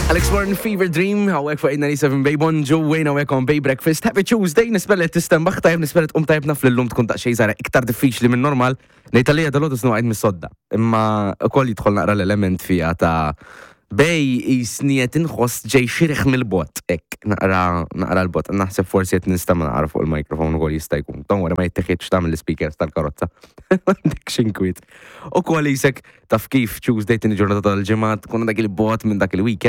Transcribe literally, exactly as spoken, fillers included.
Alex Warren, Fever Dream, hawnhekk fuq eight ninety-seven Bay. Bonġu, Wayne hawnhekk on Bay Breakfast. Happy Tuesday, nispera li tistenbaħ tajb, nispera tqum tajb. Naf li llum tkun daqsxejn żgħira iktar diffiċli minn normal. Ngħid għalija dalgħodu snu mis-sodda. Imma ukoll jidħol naqra l-element fija ta' Bay jisniet inħoss ġej xiriħ mill-bot. Ek, naqra naqra l-bot. Naħseb forsi qed nistama naqra fuq il-mikrofon ukoll jista' jkun. Don't worry, ma jitteħidx ta' mill-speakers tal-karozza. Għandek xinkwiet. U kol jisek taf kif Tuesday, tieni ġurnata tal-ġimgħa, tkun dak il-bot minn dak il-weekend.